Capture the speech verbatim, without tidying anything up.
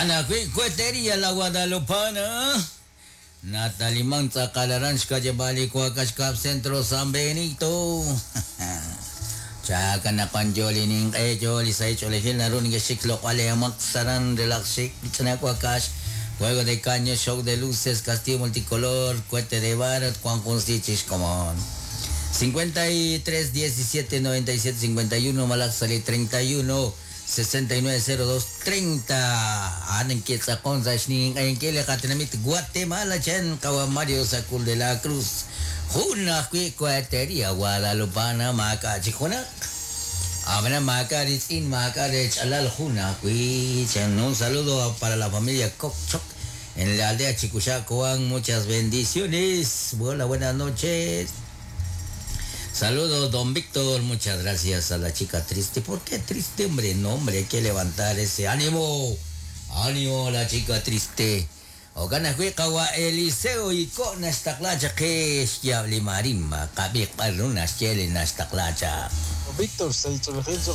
Okana Cuetería La Guadalupana. Natalimán Tzakalaran Xkayabali Cuacachcap Centro San Benito. Chaka na panjoli ning ejo li sa cholejil na run geshik lo cuale amak saran relaxik chanacuacash. Juego de caño, show de luces, castillo multicolor, cohete de barro, Juan Constichis, como cincuenta y tres, diecisiete, noventa y siete, cincuenta y uno, Malaxali treinta y uno, sesenta y nueve, cero dos, treinta. Anen Quetzalcón, Sashnin, en Kele, Catenamit, Guatemala, Chen, Kawa Mario, Sacul de la Cruz, Juna, Cuetería, Guadalupana, Maca, Chijuna. Abra Maca, Ritzin, Maca, Chalal, Juna, Cuichan. Un saludo para la familia Cockchoc en la aldea Chicuchacoan. Muchas bendiciones. Hola, buenas noches. Saludos, don Víctor. Muchas gracias a la chica triste. ¿Por qué triste, hombre? No, hombre, hay que levantar ese ánimo. Ánimo, la chica triste. Ogana huiqawa Eliseo y con esta clacha que es yabli marima, kabi parrunas chele nasta clacha. Víctor, se hizo el gil, su